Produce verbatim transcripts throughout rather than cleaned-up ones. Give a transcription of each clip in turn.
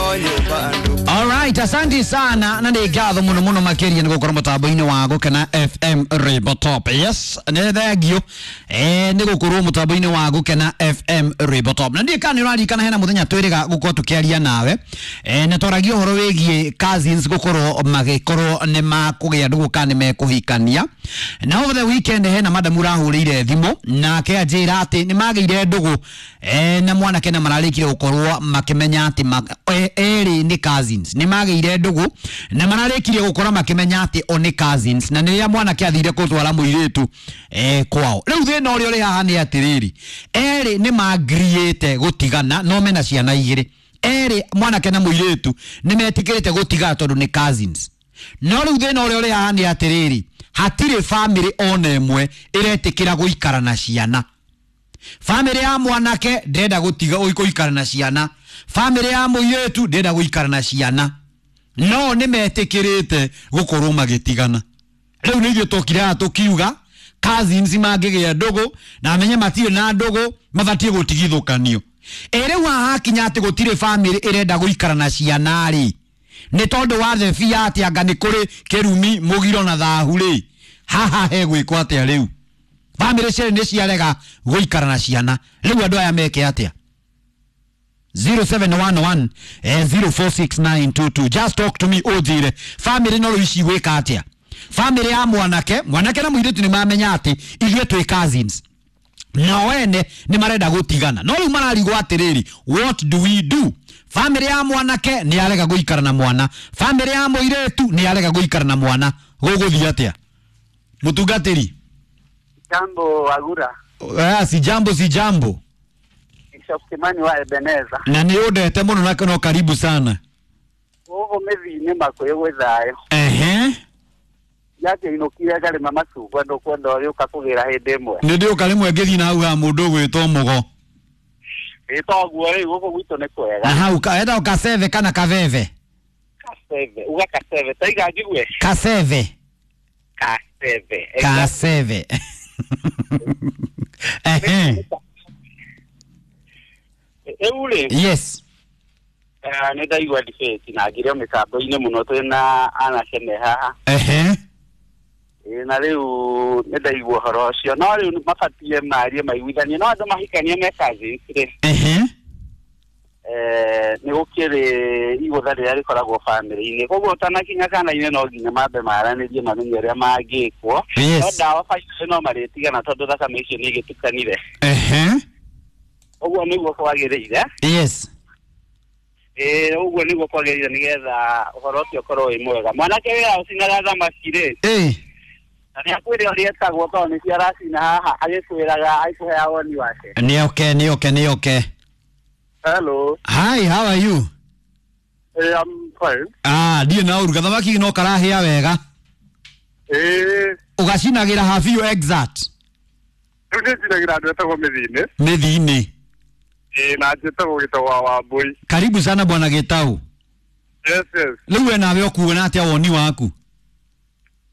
Alright, asante sana na nä ngatho må no må no makä nä gå korwo må tambo-inä wa gå kena F M Rainbow Top. Yes, nä thengio eh nä gå korwo må tambo-inä wa gå kena F M Rainbow Top. Na ndiä kana nä ũraririkana hena må thenya twä rä ga gå korwo tå kä aria nawe eh na twaragia å horo wä giä cousins gå korwo magä korwo nä makå gä a ndå kana nä mekå hikania. Na over the weekend hena madamu rahå rä ire thimå nake anjä ra atä nä magä ire ndå eh na mwanake na mararä kire gå korwo makä menya atä erä nä cousins nä magä ire ndå na mararä kirie gå korwo makä menya atä o nä cousins na nä rä a mwanake athire gå twara må irä tu eh kwao. Rä u thä na å rä a å rä haha nä atä rä ri erä nä mangiriä gå tigana no mena ciana igä rä erä mwanake na må irä tu nä metä kä rä te gå tigana tondå nä cousins. No rä u thä na å rä a å rä haha nä atä rä ri hatirä bamä ona ĩmwe ĩretĩkĩra gũikara na ciana. Bamĩrĩ ya mwanake ndĩrenda gũtiga gũikara na ciana, bamĩrĩ ya mũirĩtu ndĩrenda gũikara na ciana, no nĩ metĩkĩrĩte gũkorwo magĩtigana. Rĩu nĩ ithuĩ tũkire haha tũkiuga cousins mangĩgĩa ndũgũ na menye matirĩ na ndũgũ mabatiĩ gũtigithũkanio. Ĩ rĩu haha hakinya atĩ gũtirĩ bamĩrĩ ĩrenda gũikara na ciana rĩ, nĩ tondũ wa thebia atĩ anga nĩ kũrĩ kĩrumi mũgiro na thahu rĩ, haha he gwĩkwo atĩa rĩu? Bamĩrĩ cierĩ nĩ ciarega gũikara na ciana, rĩu andũ aya meke atĩa? zero seven one one zero four six nine two two. Just talk to me ũnjĩre bamĩrĩ no rĩu ici gwĩka atĩa? Bamĩrĩ ya mwanake mwanake na mũirĩtu nĩ mamenya atĩ ithuĩ twĩ cousins nao ene nĩ marenda gũtigana, no rĩu mararigwo atĩrĩrĩ, what do we do? Bamĩrĩ ya mwanake nĩ arega gũikara na mwana, bamĩrĩ ya mũirĩtu nĩ arega gũikara na mwana, gũgũthiĩ atĩa? Mũtungatĩri. Jambo Agura. Ah, si jambo si jambo. Bishop Kimani wa Ebeneza. Na nĩ ũndete mũno na no karibu sana. Gũkũ mĩthi-inĩ makũyũ gwĩ thayũ. Ehe. Yakĩinũkire ngarĩma macungwa ndũkwenda ũrĩũka kũgĩra hĩndĩ ĩmwe. Nĩ ndĩũka rĩmwe ngĩthiĩ na hau ha mũndũ ũgwĩtwo Mũgo. Ĩ toguo rĩu gũkũ gwitũ nĩ kwega. Na hau etagwo Kaseve kana Kaveve? Kaseve, uga Kaseve, taiga njigue. Kaseve. Kaseve. Kaseve. Ehe. Rĩu rĩ. Yes. Nĩ ndaigua debate na ngĩrĩo mĩtambo-inĩ mũno twĩna anake me haha. Ehe. Na rĩu nĩ ndaigua ũhoro ũcio, no rĩu mabatiĩ marie maiguithanie, no andũ mahikanie me cousins rĩ. Ehe. Eh, nĩ gũkĩrĩ igũtha rĩrĩa rĩkoragwo bamĩrĩ-inĩ, koguo ũtanakinya kana-inĩ no nginya mambe maranĩrie mamenye ũrĩa mangĩkwo. No ndawa bainĩ no marĩtigana tondũ thakame icio nĩ igĩtukanire. Ehe. Ũguo nĩguo kwagĩrĩire. Yes. Ĩ ũguo nĩguo kwagĩrĩire nĩgetha ũhoro ũcio ũkorwo wĩ mwega. Mwanake wĩra ũcinaga thamaki rĩ. Ĩ. Na nĩ akwĩre ũrĩa etagwo tondũ nĩcio aracina haha agĩkwĩraga agĩkũheaga woni wake. Nĩ oke nĩ oke nĩ oke. Hello. Hi, how are you? Hey, I'm fine. Ah, ndiĩ na ũru gathamaki no karahĩa wega. Ĩ. Ũgacinagĩra ha biũ exact. Rĩu nĩ ncinagĩra andũ etagwo mĩthi-inĩ. Mĩthi-inĩ. Ĩ na njĩtagwo Gĩtau wa Wambũi. Karibu sana bwana Gĩtau. Yes, yes. Rĩu we nawe ũkuona atĩa woni waku?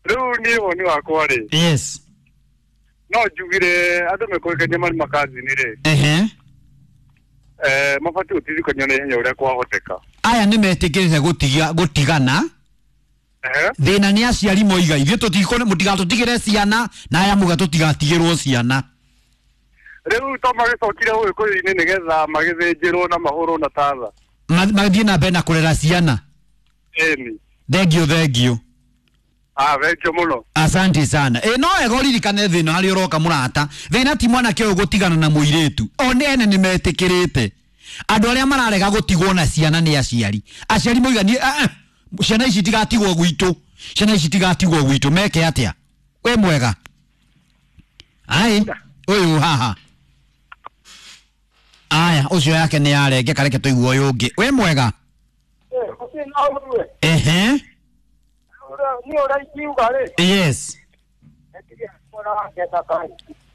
Rĩu niĩ woni wakwa rĩ. Yes. No njugire andũ mekũhikania marĩ makazini rĩ. Ehe. Eh, mabatiĩ gũtigithũkanio na ihenya ũrĩa kwahoteka. Aya nĩ metĩkĩrĩte gũtiga gũtigana. Ehe. Thĩna nĩ aciari moiga ithuĩ tũtikũ mũtigatũtigĩre ciana na aya muga tũtigatigĩrwo ciana. Rĩu to magĩcokire ũgĩkũyũ-inĩ nĩgetha magĩthĩnjĩrwo na mahũrwo na tatha. Mathiĩ na mbere na kũrera ciana. Ĩni. Thengio thengio. Ah, thengio mũno. Asante sana. Ĩ no wega ũririkane thĩna harĩa ũroka mũrata. Thĩna ti mwanake ũyũ gũtigana na mũirĩtu. O nĩ ene nĩ metĩkĩrĩte. Andũ arĩa mararega gũtigwo na ciana nĩ aciari. Aciari moiga niĩ eh ciana ici tigatigwo gwitũ. Ciana ici tigatigwo gwitũ meke atĩa? Wĩ mwega. Ai, ũyũ haha. Aya, ũcio yake nĩ yarenge kareke tũigue ũyũ ũngĩ. Wĩ mwega? Ehe. Nĩ ũrĩa ingiuga rĩ. Yes.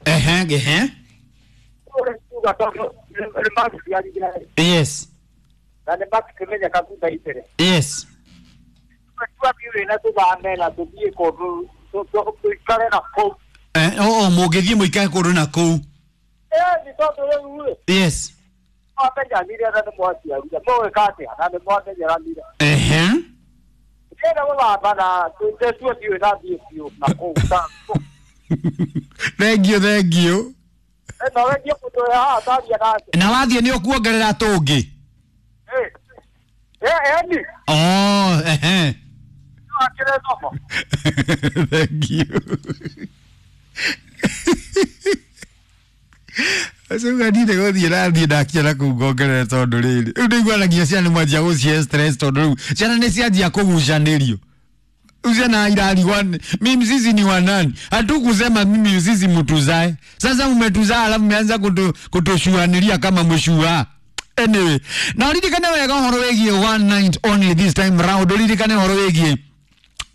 Ehe, ehe. Yes. Yes. Eh, oh, mũngĩthiĩ mũikare kũndũ na kũu. Yes. Mwamenyanire na nĩ mwaciarire mũgwĩka atĩa na nĩ mwamenyeranire. Ehe. Ndĩrenda gũthamba na ndĩtue ndiũĩ na thiĩ biũ na kũu ta Thank you, thank you. No wendie mũndũ ũrĩa haha taria nake. Na wathiĩ nĩ ũkuongerera tũngĩ. Eh. Eh, eni. Oh, ehe. Akĩrĩ thomo. Thank you. Acio ndire gũthiĩ nathiĩ ndakinya na kũu ngongerere tondũ rĩrĩ rĩu ndĩiguanagia ciana nĩ mwanjia gũcihe stress tondũ rĩu ciana nĩ cianjia kũgucanĩrio. Rĩu ciana irarigwa mimi sisi ni wanani, hatukusema mimi sisi mtuzae, sasa mmetuzaa alafu mmeanza kutu, kutushuanilia kama mshua. Anyway, na uririkane wega ũhoro wĩgiĩ one night only this time round, uririkane ũhoro wĩgiĩ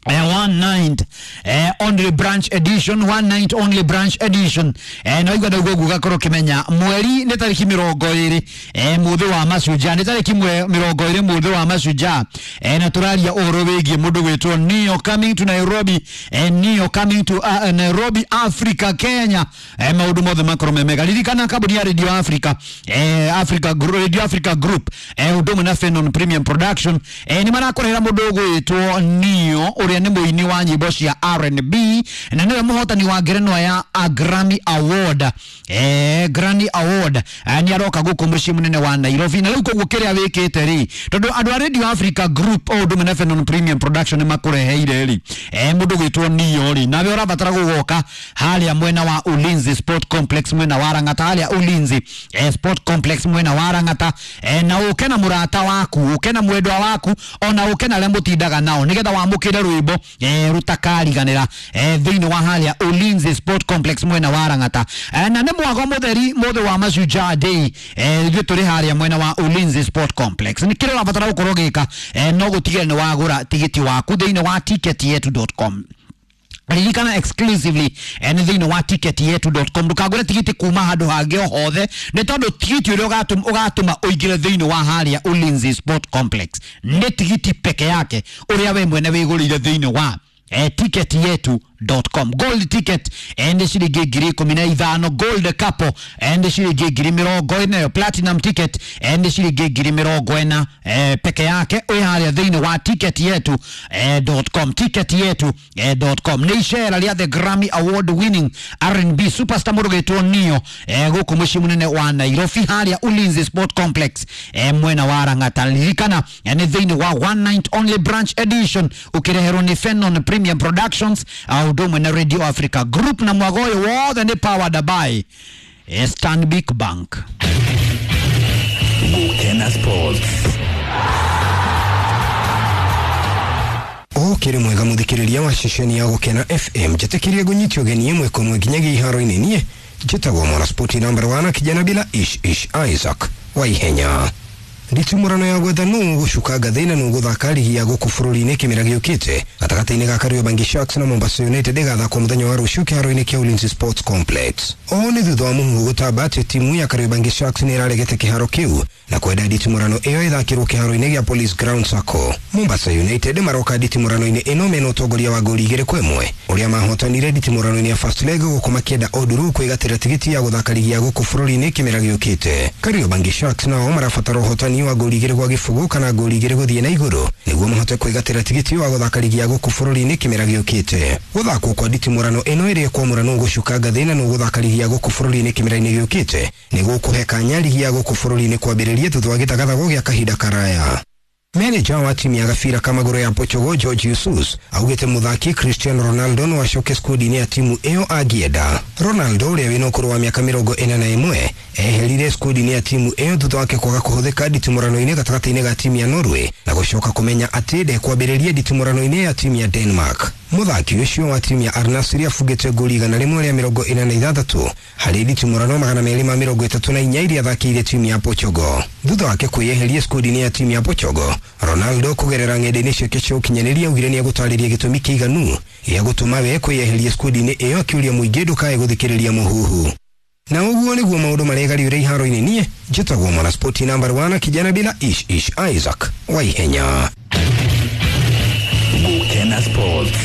Eh, one night eh, only branch edition, one night only branch edition. eh, na igwa ndaguo gugakorwo kimenya mweri nĩ tarĩki mĩrongo ĩrĩ eh, mũthĩ wa mashujaa nĩ tarĩki mĩrongo ĩrĩ mũthĩ wa mashujaa eh, na tũraria ũhoro wĩgiĩ mũndũ gwĩtwo Neo coming to Nairobi, eh, Neo coming to uh, Nairobi Africa Kenya. eh, maũndũ mothe makorwo me mega. Ririkana kambuni ya Radio Africa, eh, Africa Group, Radio Africa Group eh, ũndũ ũmwe na Fenon Premium Production eh, nĩ marakũrehera mũndũ ũgwĩtwo Neo ũrĩa nĩ mũini wa nyĩmbo cia R and B na nĩwe mũhotani wa ngerenwa ya a Grammy Award, eh, Grammy Award. eh, nĩ aroka gũkũ mũciĩ mũnene wa Nairobi na rĩu koguo kĩrĩa wĩkĩte rĩ tondũ andũ a Radio Africa Group o ũndũ ũmwe na Fenon Premium Production nĩ makũreheire rĩ eh, mũndũ gwĩtwo Neo rĩ nawe ũrabatara gũgoka harĩa mwena wa Ulinzi Sport Complex mwena wa Lang'ata, harĩa Ulinzi eh, Sport Complex mwena wa Lang'ata eh, na ũke na mũrata waku, ũke na mwendwa waku ona ũke na arĩa mũtindaga nao nĩgetha wamũkĩre rwĩmbo eh, rutakariganĩra eh, thĩinĩ wa harĩa Ulinzi Sport Complex mwena wa Lang'ata. eh, na nĩ mwago mũtheri mũthĩ wa Mashujaa Day eh, ithuĩ tũrĩ harĩa mwena wa Ulinzi Sport Complex. Nĩ kĩrĩa ũrabatara gũkorwo ũgĩka eh, no gũtigĩrĩra nĩ wagũra tigiti waku thĩinĩ wa ticket yetu dot com. Ririkana exclusively eh, nĩ thĩinĩ wa ticket yetu dot com. Ndũkagũre tigiti kuma handũ hangĩ o hothe nĩ tondũ tigiti ũrĩa ũgatũma ũgatũma ũingĩre thĩinĩ wa harĩa Ulinzi Sport Complex nĩ tigiti peke yake ũrĩa we mwene wĩgũrĩire thĩinĩ wa eh, ticket yetu dot com. Gold ticket eh, nĩ ciringi ngiri ikũmi na ithano, gold couple eh, nĩ ciringi ngiri mĩrongo ĩna, platinum ticket eh, nĩ ciringi ngiri mĩrongo ĩna eh, peke yake wĩ harĩa thĩinĩ wa ticket yetu eh, dot com, ticket yetu eh, dot com. Nĩ icera rĩa the Grammy Award winning R and B superstar mũndũ gwĩtwo Neo eh, gũkũ mũciĩ mũnene wa Nairobi harĩa Ulinzi Sport Complex eh, mwena wa Lang'ata. Ririkana eh, nĩ thĩinĩ wa one night only branch edition ũkĩreherwo nĩ Fenon Premium Productions ũndũ ũmwe na Radio Africa Group na mwago ũyũ wothe nĩ powered by eh, Stanbic Bank. Gukena Sports. Okiri mwega muthikiriria wa ceceni ya Gukena F M njitikirie ngunyitio ũgeni ĩmwe kwa ĩmwe nginyagia iharo-inĩ niĩ njĩtagwo mwanaspoti number one kijana bila ish ish Isaac wa ihenya. Nditimũrano ya gwetha nũ gũcuka ngathĩ na nũ gũthaka rigi ya gũkũ bũrũri-inĩ kĩmera gĩũkĩte gatagatĩ-inĩ ga Kariobangi Sharks na Mombasa United ĩgathakwo mũthenya wa rũciũ kĩharo-inĩ kĩa Ulinzi Sports Complex. Ũũ nĩ thutha wa mũhuhu gũtamba atĩ timu ya Kariobangi Sharks nĩ ĩraregete kĩharo kĩu na kwenda nditimũrano ĩyo ĩthakĩrwo kĩharo-inĩ gĩa Police Ground Sacco. Mombasa United maroka nditimũrano-inĩ ĩno mena ũtongoria wa ngoli igĩrĩ kwa ĩmwe ũrĩa mahotanire nditimũrano-inĩ ya first leg gũkũ makĩenda Onduru kwĩgatĩra tigiti ya gũthaka rigi ya gũkũ bũrũri-inĩ kĩmera gĩũkĩte. Kariobangi Sharks nao marabatara ũhotani wa ngoli igĩrĩ gwa gĩbũgũ kana ngoli igĩrĩ gũthiĩ na igũrũ nĩguo mahote kwĩgatĩra tigiti wa gũthaka rigi ya gũkũ bũrũri-inĩ kĩmera gĩũkĩte. Gũthakwo kwa nditimũrano ĩno ĩrĩa ĩkwamũra nũ gũcuka ngathĩ na nũ gũthaka rigi ya gũkũ bũrũri-inĩ kĩmera-inĩ gĩũkĩte nĩ gũkũhe kanya rigi ya gũkũ bũrũri-inĩ kwambĩrĩria thutha wa gĩthagathago gĩa kahinda karaya. Manager wa timu ya gabira kamagũrũ ya Portugal George Jesus augĩte mũthaki Cristiano Ronaldo no acoke skundi-inĩ ya timu ĩyo angĩenda. Ronaldo ũrĩa wĩna ũkũrũ wa mĩaka mĩrongo ĩna na ĩmwe eherire skundi-inĩ ya timu ĩyo thutha wake kwaga kũhũthĩka nditimũrano-inĩ gatagatĩ-inĩ ga timu ya Norway na gũcoka kũmenya atĩ ndekwambĩrĩria nditimũrano-inĩ ya timu ya Denmark. Mũthaki ũcio wa timu ya Al Nassr abungĩte ngoli igana rĩmwe rĩa mĩrongo ĩna na ithathatũ harĩ nditimũrano magana merĩ ma mĩrongo ĩtatũ na inya iria athakĩire timu ya Portugal. Thutha wake kwĩyeheria skundi-inĩ ya timu ya Portugal, Ronaldo kũgerera ng'enda-inĩ ciake cia ũkinyanĩria augire nĩegũtarĩria gĩtũmi kĩiganu gĩa gũtũma we kwĩyeheria skundi-inĩ ĩyo akĩũria mũingĩ ndũkae gũthikĩrĩria mũhuhu. Na ũguo nĩguo maũndũ maregariũre iharo-inĩ niĩ njĩtagwo mwanaspoti number one kijana bila ish ish Isaac wa ihenya. Gukena Sports.